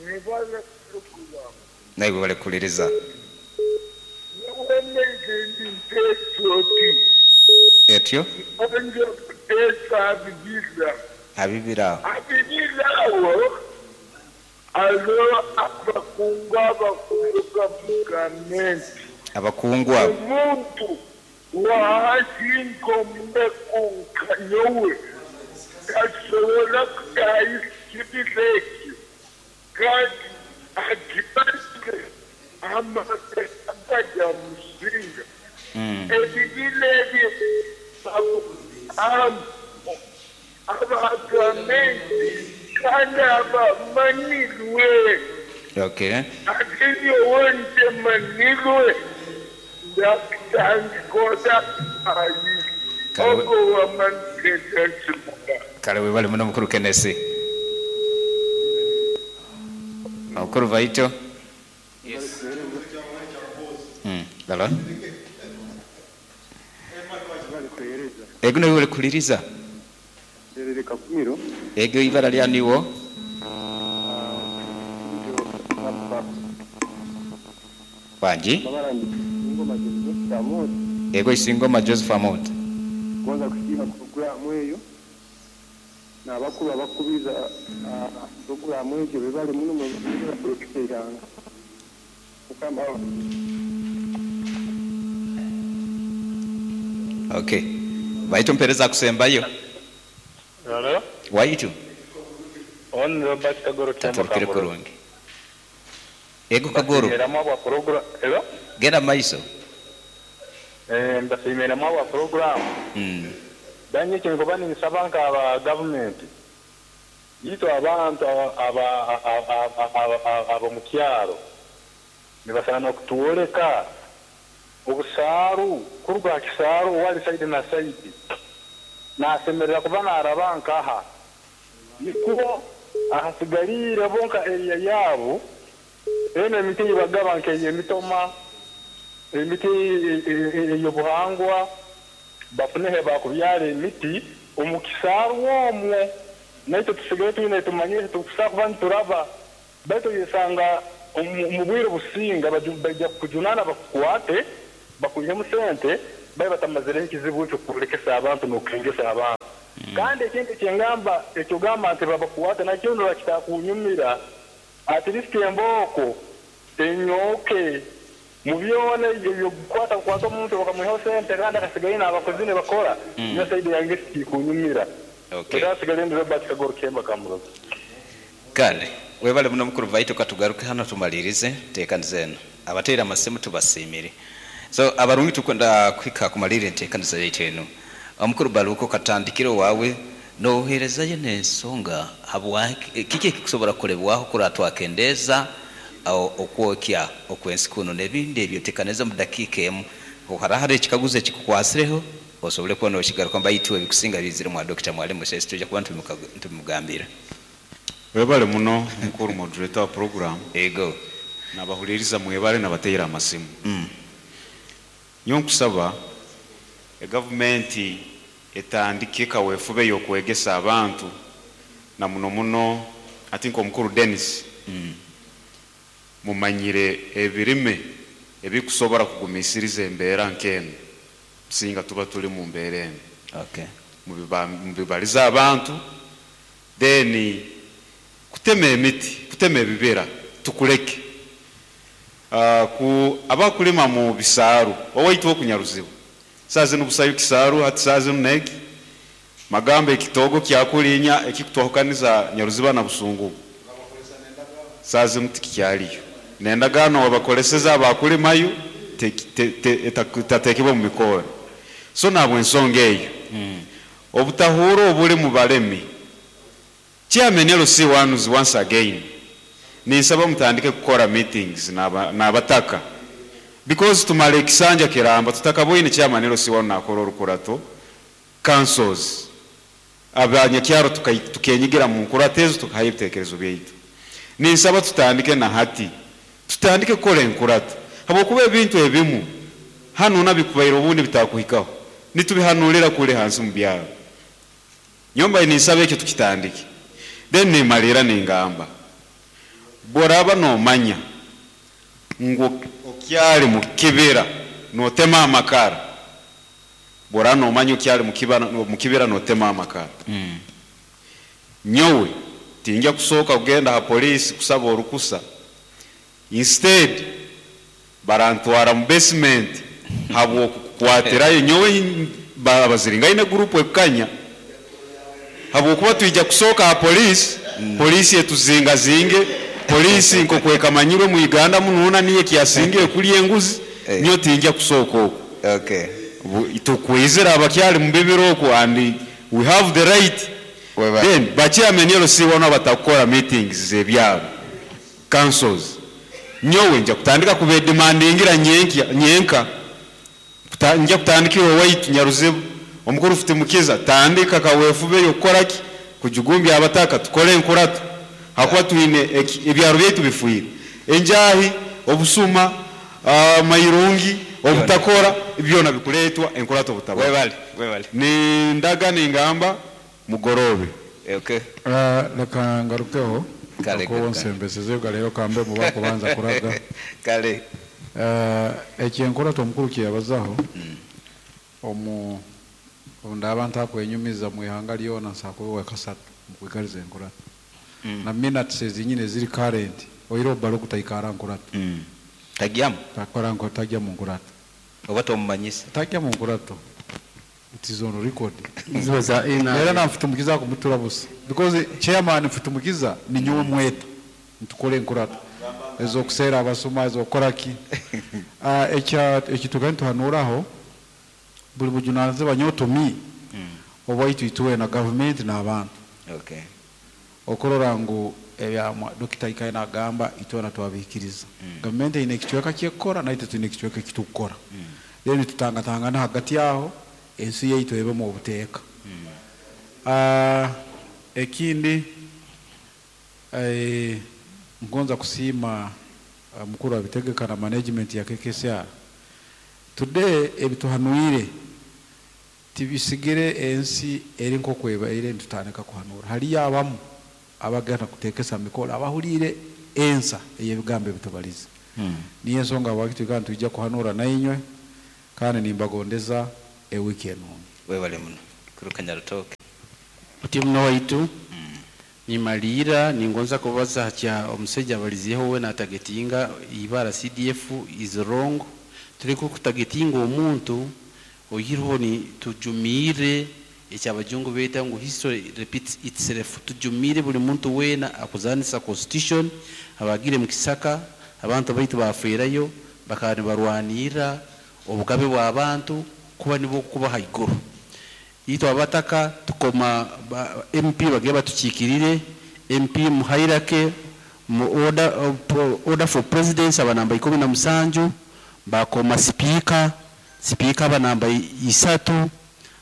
Mwebale puroguramu. Naiwe webale kuhuririza. Nyowe naija ndi patriot. Etyo. Nyowe kuteesa aha bibira. Aha bibira aho. Aha bibira aho hariho abakungu abakuruga mu gavumenti. Abakungu abo. Omuntu Wahasinga omunaku nka nyowe, tasobora kutaaha ekibira ekyo, kandi agimanyire amagara garyamusinga. Ebibira ebyo aba gavumenti kandi abamanirwe. Ati nyowe ntemanirwe. Kale webale muno mukuru Kenesi. Mukuru Vaito. Hello. Ego niiwe orikuhuririza. Ego eibara rya niiwe? Wangi? Ego Isingoma Joseph Amooti. Nkugonza kusiima puroguraamu eyo n'abakuru abakubiza puroguraamu egyo bebale muno mwebale kurekesa eihanga. Mukama abahe. Ok. Baitu ompereza akusembayo. Hello. Waitu. Hon Robert Kagoro Kyambo Taturukire Kamboros. kurungi. Ego Kagoro. Mbasiimiramu ahabwa program. Hello. Genda mumaiso. Eh, mbasiimiramu ahabwa program. Then eki nkuba ninsaba nka aba government itwe abantu aba abomukyaro nibasaana kutworeka Obusaaru, kuruga aha kisaaru owari sayidi na sayidi, naashemerera kuba naaraba nkaha? Nikwo ahasigariire bo nka eriya yaabo, enu emiti ei bagaba nk'ey'emitoma, emiti ey'obuhangwa, bafune ahu baakubyara emiti omu kisaaru omwo. Naitwe tusigaire twine tumanyire eki turikusobola kuba nituraba, baitu oyesanga omu bwire obusinga baija kukujunaana bakukwate, bakwihemu sente, babe batamazireho ekizibu eky'okurekesa abantu n'okukengesa abantu. Kandi ekindi ekyengamba, eky'ogamba nti babakwate nakyo ndora kitakunyumira, at least embooko enyooke mu byona eby'okukwata kukwata omuntu bakamwihaho sente kandi akasigayo n'abakozi nibakora, nyowe side yange tikikunyumira. Okay. Leka nsigale ndi Robert Kagoro Kemba Kamuroza. Kale webale muno mukuru baitu katugaruke hanu tumalirize entekaniza enu. Abateire amasimu tubasiimire. So abarungi tukwenda kuhika kumalirra entekaniza yaitu enu. Omukuru Baluku katandikire owawe noherezayo n'ensonga habwaki kiki ekikusobora kukolebwaho kurora twakendeeza okwokya okw'ensi kunu n'ebindi ebyo tekaniza omu dakiika emu. Obu haraaba haroho ekikaguzo ekikukwasireho osobole kuba nokigarukamu baitu ebikusinga biizire mwa Dokita Mwalimu Musesi twija kuba nitubimugambira. Webale muno mukuru moderator wa program. Ego. Nabahuliriza mwebale nabateire amasimu. Nyowe nkusaba egavumenti etandike kawefube yokwegesa abantu na muno muno ati nkomukuru Denis mumanyire ebirime ebikusobora kugumisiriza embeera nk'enu singa tuba tuli mu mbeera enu. Okay. Mubibalize abantu then kutema emiti, kutema ebibira tukuleke. Ku abakulima mu bisaaru owaitu oku Nyaruzibu saaha zinu busayo kisaaru hati saaha zinu neki magamba ekitoogo kyakulinya ekikutwahukaniza Nyaruziba na Busungubu saaha zinu tikikyaliyo nendagaano wabakoleseze abakulimayo etatekebwe mu mikoore so nahabwensonga eyo obutahuura obuli mu balemi Chairman LC ones once again ninsaba mutandike kukora meetings nabataka because tumara ekisanja kiramba tutakaboine chairman LC one nakora orukurato councils abanyakyaro tukenyigira munkurato ezo tukahayo ebitekerezo byaitu. Ninsaba tutandike nahati tutandike kukora enkurato habwokuba ebintu ebimu hanu nabikubaire obundi bitakuhikaho nitubihanurira kuli hansi mubyaro. Nyowe mbaire ninsaba ekyo tukitandike. Then nimaliira ningamba, bworaba nomanya ngu okyali mukibira notema amakara, bworaba nomanya okyali mukibira notema amakara, nyowe tingya kusooka kugenda ha police kusaba orukusa, instead barantwara mu basement habwokukukwatirayo nyowe abaziringaine group ekukanya habwokuba twija kusooka ha police, police etuzingazinge, police nkokwekamanyirwe mu Uganda munuuna niyo ekyasingire kulya enguzi, nyowe tingya kusooka okwo. Okay. Tukwizire abakyali mubibira okwo and we have the right. Then ba chairman LC wanu abatakukora meetings zebyaro, councils, nyowe nja kutandika kubedemandingira nyenkya nyenka, nja kutandikira owaitu Nyaruzibu, omukuru Futimukiza, tandika kawefube yokukoraki, kujugumbya abataka tukore enkurato, hakuba twine ebyaro byaitu bifwire, enjahi, obusuma, amairungi, obutakora, byona bikuretwa enkurato obutabaho. Webale, webale. Nindaga ningamba mugorobe. Okay. Leka ngarukeho. Kale, Ako kale. nsembeseze galero kambe muba kubanza kuraga. Kale. Ekyenkurato omukuru kyeyabazaho, omu ndaba ntakwenyumiza mu ihanga lyona nsakuba kasatu mukwikariza enkurato. Na minutes ezinyine ziri current oiro balo kutaikara nkurato. Tagyamu. Takora nko tagya mu nkurato. Oba tomumanyisa. Tagya mu nkurato. It is on record. Ziba za N R A. Era na Mfitumukiza kumutura busa. Because chairman Mfitumukiza ni nyowe mweta. Ntukore nkurato. Ezo kusera abasoma ezo kora ki. Ekya ekituka ntuhanuraho buli bujunanize banyotomi. Obwaitu ituwe na government na abantu. Okay. Okorora ngu ebya Dokita Ikaye nagamba itwe na twabikiriza. Government ine ekicweka kyekora na itwe twine ekicweka ekitukora. Then tutangatangana hagati yaho ensi yaitu ebe mu buteeka. Ekindi ngonza kusiima mukuru abitegeka na management ya KKCR. Today ebituhanuire Tibisigire ensi eri nk'oku ebaire nitutandika kuhanura. Hariyo abamu abagenda kuteekesa mikoro abahuliire ensa ey'ebigambo ebitubalize. Niyo ensonga habwaki twikara nitwija kuhanura nainywe kandi nimbagondeza ewiiki enungi. Webale muno kuruka Nyarutooke. Oti muno waitu, nimaliira ningonza kubaza ha kya omusaija abalizeeho we natagetinga ibara CDF is wrong. Tuleke kutagetinga omuntu oihireho ni tujumiire eki abajungu beeta ngu history repeats itself. Tujumiire buli muntu weena akuzanisa constitution, abagiire mu kisaka, abantu baitu bafeerayo, bakaba nibarwanirra obugabe bw'abantu kuba nibwo kuba haiguru. Itwe abataka tukoma ba MP bagende batukiikirire, MP mu hierarchy, mu order, order for presidency aba namba 17, bakoma sipiika, sipiika aba namba isatu,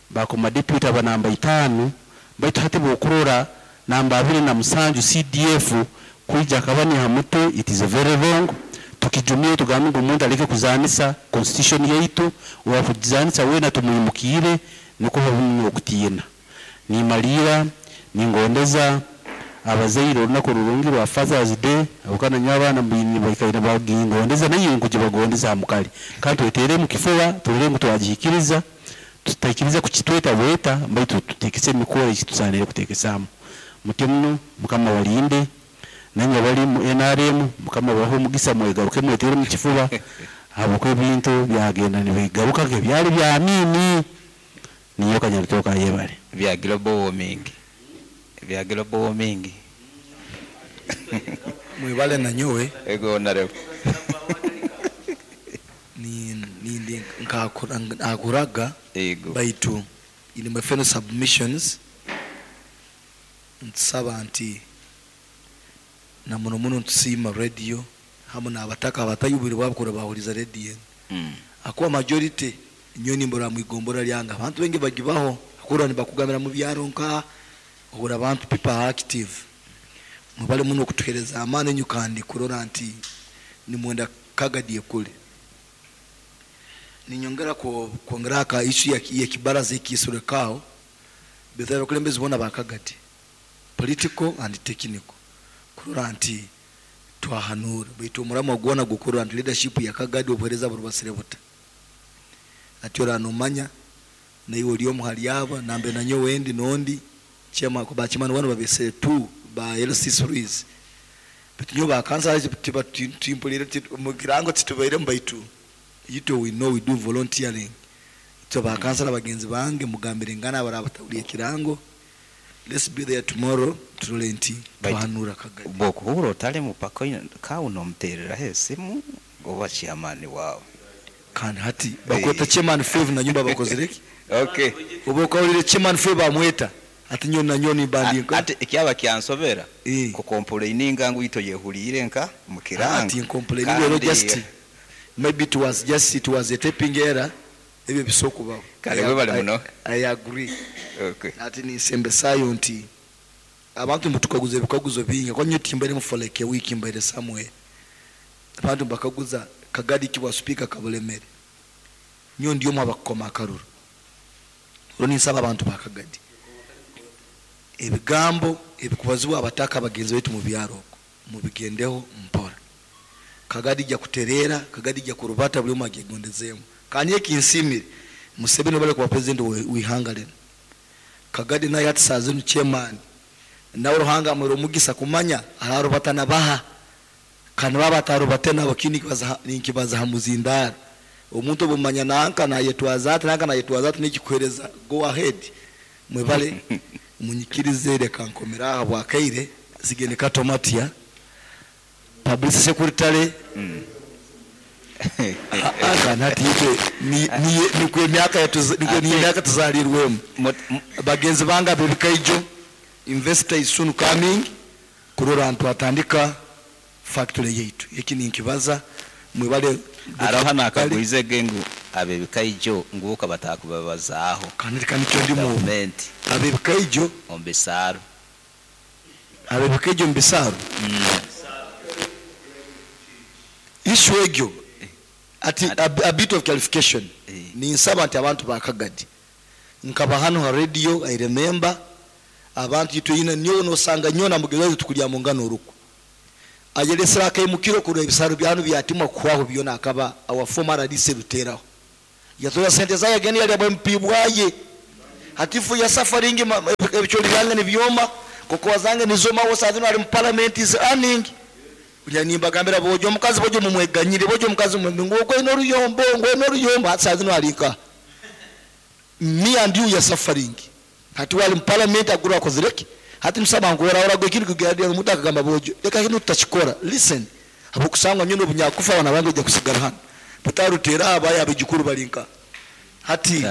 bakoma deputy aba namba itaano, baitu hati bwokurora namba 27 CDF kwija akaba ni ha mutwe, it is very wrong. Tukijumire tugambe ngu omuntu aleke kuzanisa constitution yaitu, owakugizanisa weena tumwimukiire nukwo habeho n'okutiina. Nimaliira ningondeza abazaire orunaku rurungi rwa Father's Day, habwokuba nanyowe abaana mbaine baikaire nibagingondeza naiwe nkugibagondeza ha mukali. Kandi tweteeremu kifuba turole ngu twagihikiriza, tutaikiriza kukitweta bweta baitu tuteekese emikoro ei tusaaniire kuteekesaamu. Mutyo muno Mukama abalinde, nainywe abali mu nrm Mukama abahe omugisa mwegaruke mweteere omu kifuba habwokuba ebintu byagenda nibigaruka nk'ebyali bya Amiini. Ninyowe Kanyarutooke ayebare. Bya global warming bya global warming. Mwebale nanyowe. Ego Honorable. Nindi nkakuraga baitu in my final submissions ntusaba nti na muno muno ntusiima radio hamu n'abataka abatayo obwire bwabo kurora bahuriza radio enu ahakuba majority nyowe nimbarora mwigombora lyange abantu baingi bagibaho ahakuba nibakugambira mubyaro nkaha ohurra abantu people are active mwebale muno okutuhereza amaani enyu kandi kurora nti nimwenda Kagadi ekule. Ninyongera kwongera aha ka issue y'ekibaraza ekiisirweko aho baitu abakulembezi boona ba Kagadi political and technical kurora nti twahanuura baitu omuramwa gwona gukurora nti leadership ya Kagadi obuhereza burubasire buta. Hati oraba nomanya naiwe ori omu hari aba nambere nanyowe ndi nondi chairman ba chairman boona babesere tu ba LC threes baitu nyowe ba councillors timpurire omu kirango titubairemu baitu itwe we know we do volunteering itwe ba councillor bagenzi bange mugambire ngana abaraba batahuriire ekirango let's be there tomorrow turore nti Baitu twahanura Kagadi. bwokuhurra otali mupaka kawe nomutereraho esimu oba chairman wawe. Kandi hati bakweta chairman Fave nanyumba bakozire ki? Okay. Obu okahurire chairman Fave bamweta hati nyowe nanyowe nimba ndi nka. Hati ekyaba kyansobera ku complaininga ngu itwe oyehuriire nka mukirango. Hati ncomplaininga rero just maybe it was just it was a typing error ebyo bisobola okubaho. Kale webale muno. I agree. Okay. Hati ninsembesayo nti abantu nimutukaguza ebikaguzo bingi ahakuba nyowe timbairemu for like a week mbaire somewhere. Abantu nibakaguza Kagadi ki bwa sipiika kabulemere. Nyowe ndi omu abakukoma akaruru. Rero ninsaba abantu ba Kagadi ebigambo ebikubazibwa abataka bagenzi baitu mu byaro okwo mubigendeho mpora. Kagadi ija kutereera, Kagadi ija kurubata buri omwe agyegondezeemu. Kandi ekinsiimire Museveni obu arikuba president w'eihanga rinu, Kagadi nawe hati saaha zinu chairman nawe Ruhanga amuhaire omugisa kumanya ararubata na baha. Kandi baaba batarubate nabo kinu ninkibaza ha muzindaaro. Omuntu obu omanya nanka nayetwaza ati nanka nayetwaza ati nikikuhereza go ahead. Mwebale munyikirize reka nkomere aha habwakaire nsigaire Kato Matia publicity secretary. Kandi hati itwe nikwo emyaka nikwo emyaka tuzarirwemu. Bagenzi bange ab'ebikaijo investor is soon coming kurora nti twatandika factory yaitu. Eki ninkibaza mwebale. Haroho nakagwize ge ngu ab'ebikaijo ngu oka batakubabazaaho. Kandi reka nikyo ndimu obu. Gavumenti. Ab'ebikaijo. Omu bisaaro. Ab'ebikaijo omu bisaaro? Issue egyo ati a bit of clarification. Ninsaba nti abantu ba Kagadi. Nkaba hanu ha radio, I remember, abantu itwe ina nyowe nosanga nyowe na mugenzi waitu tukuryamungana orukwe. Ayelesire akaimukiro kurora ebisaaru bya hanu byatimwa kuhwaho byona akaba our former RDC Ruteraho. Yatoza sente zaye agenda yalya bwa MP bwaye. Hati fu ya suffering ebicholi byange nibyoma, kokoa zange nizoma, aho saa zino ali mu parliament is earning. Kugira nimbagambira bojo omukazi bojo mumweganyire, bojo omukazi mumwe ngu ogwo aine oruyombo, ngu aine oruyombo, hati saa zino ali nkaha? Me and you we are suffering. Hati we ali mu parliament agura akozire ki? Hati nitusaba ngu orahora ekindi kugira omuntu akagamba bojo reka kinu tutakikora. Listen, habwokusangwa nyowe obunyakufa abaana bange baija kusigara hanu. Bataruteera abaye abaijukuru bari nkaha? Hati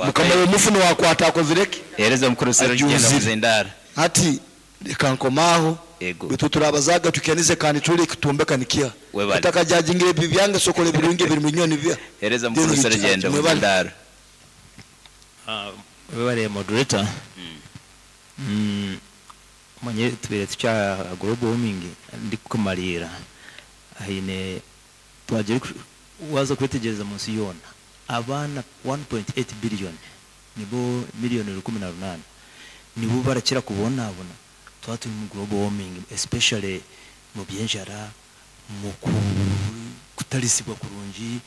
mukama w'omufu niwe akwata akozire ki? Hereza omukuru Serugendo Ajunzire. Muzindaro. Hati reka nkome aho. Ego. Baitu turabazaaga tukenize kandi tuli ekitumbeka nikiha. Webale. Otakajajingira ebibi byange sokola ebirungi ebiri mu nyowe nibiha. Hereza Then mukuru you judge. Serugendo Mwebale. Muzindaro. Webale moderator. Manye tubaire tukya global warming ndikukumariira haine twagira waza kwetegyereza mu nsi yoona abaana 1.8 billion nibo miliyoni 18 nibo barakira kubonabona twaba turi mu global warming especially mu by'enjara mu kutarisibwa kurungi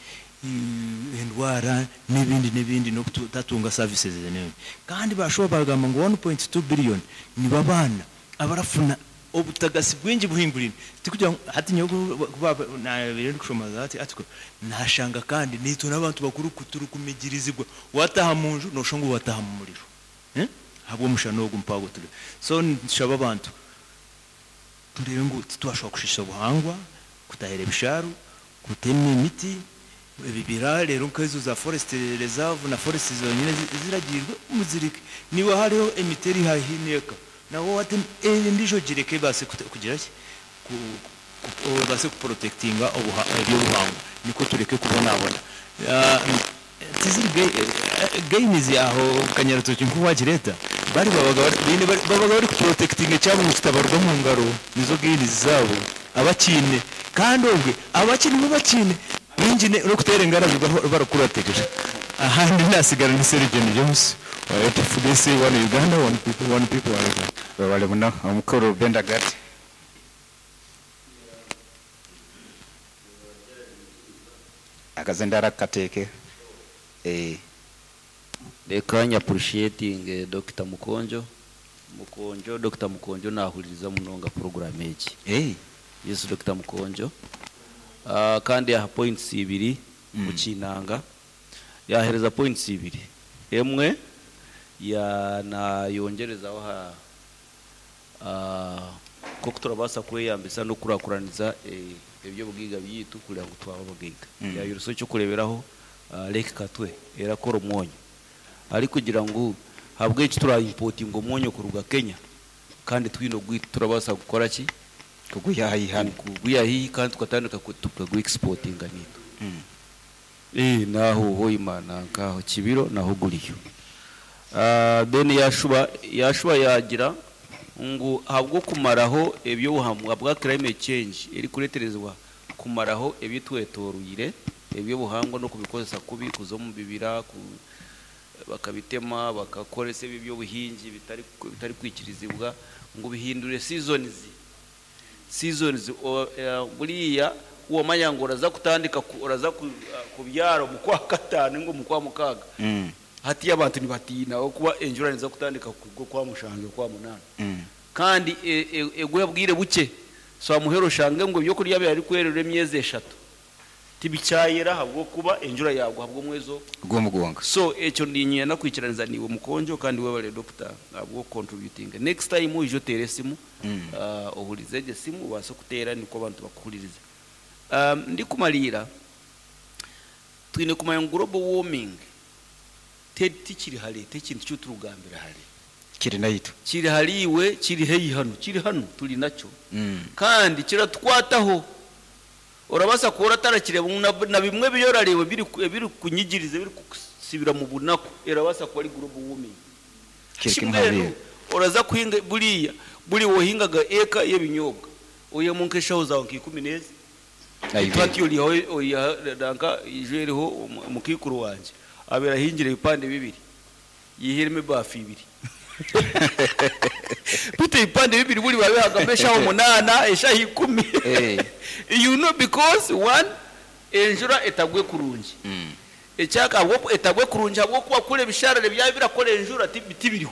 endwara n'ebindi n'ebindi n'okutatunga services n'ebindi. Kandi bashuba bagamba ngu 1.2 billion nibo abaana abarafuna obutagasi bwingi buhingurire. Tikugira ngu hati nyowe kuba nabaire ndikushoma that article nashanga kandi nitwe n'abantu bakuru turikumigirizibwa wataha mu nju noshusha ngu wataha mu muriro. Ahabw'omushana ogu mpago turi. So nitushaba abantu turebe ngu titwashobora kushisha obuhangwa, kutahira ebishaaru, kutema emiti, ebibira reero nk'ezo za forest reserve na forest zonyine ziragiirwe muzireke. Niiwe hariho emiti eri haihi n'eka nawe watema endiijo ogireke ebaase kugira ki? Obaase kuprotectinga eby'obuhangwa nikwo tureke kubonabona. Tiziri gains aho Kanyarutokye nku wagireeta bari babaga baine babaga bari kuprotectinga ekyabo ngu kitabaruga omu ngaro nizo gains zaabo abakiine kandi obwe abakye nibo bakiine baingi n'okuteera engarabi barikuratirira ahandi nasigara ni Sergent James wa ATFDC one Uganda one people one people one Uganda. Webale muno omukuru Benda Gati. Akazindaro kateeke. Eh. Reka nyi appreciating Dokita Mukonjo. Mukonjo, Dokita Mukonjo nahuririza munonga program egi. Yes, Dokita Mukonjo. Kandi yaha points ibiri mukinanga. Yahereza points ibiri. Emwe ya nayongerezaho ha ko turabasa kweyambisa no kurakuraniza ebyobugiga byitu kugira ngu twaba abagiga. Yayiruso cyo kureberaho Lake Katwe erakora omwonyo. Ari kugira ngu habwe eki turaimportinga omwonyo kuruga Kenya kandi twine ogwitu turabasa kukora ki? Kugwiha hano. Kugwiha hihi kandi tukatandika tukagu exportinga nitu. Naho hoima nankaho Kibiro naho guriyo. Then yashuba yagira ngu habwo kumaraho ebyobuhamwa bwa climate change eri kureterezwa kumaraho ebitwetorwire ebyobuhangwa no kubikozesa kubi kuza omu bibira bakabitema bakakoresa ebyobuhingi bitari kwikirizibwa ngu bihindure seasons. Seasons buriya uwamanya ngo uraza kutandika uraza kubyara mu kwa gatanu ngo mu kwa mukaga. Hati abantu nibatina okuba enjura niza kutandika kugwa kwa mushange kwa munana. Kandi egwe bwire buke so amuhero shange ngo byo kurya byari kwerera emyezi 3. Tibicyayera habwo kuba enjura yagwa habwo mwezo gwomugonga. So ekyo ndinye nakwikiraniza niwe mukonjo kandi webale doctor abwo contributing. Next time ujo tere simu, ohulizeje simu ubase kutera niko abantu bakuhuliriza. Ndi kumalira twine kumanya global warming tikiri hale tekintu cyo turugambira hale kiri nayitu kiri haliwe kiri heyi hano kiri hano tuli nacyo. Kandi kiratwataho urabasa kuora tarakire na bimwe biyorarewe biri kunyigiriza biri kusibira mu bunaku erabasa kuba ari global warming. Kiri Kimwe kimwe rero, uraza kuhinga buriya buri wohingaga eka y'ebinyobwa oya munkeshaho zawe nkikumi neza. Nayibe. Twati yoli oya danka ijereho mukikuru wanje abera hingire ibipande bibiri. Yaihiremu ebaafu ibiri. Beitu ebipande bibiri buri babihagamu eshaaha munaana, eshaaha ikumi. You know because one, enjura etagwe kurungi. Ekyaka ahabw'oku etagwe kurungi ahabw'okuba kuri ebisharara ebyaba birakora enjura tibiriho.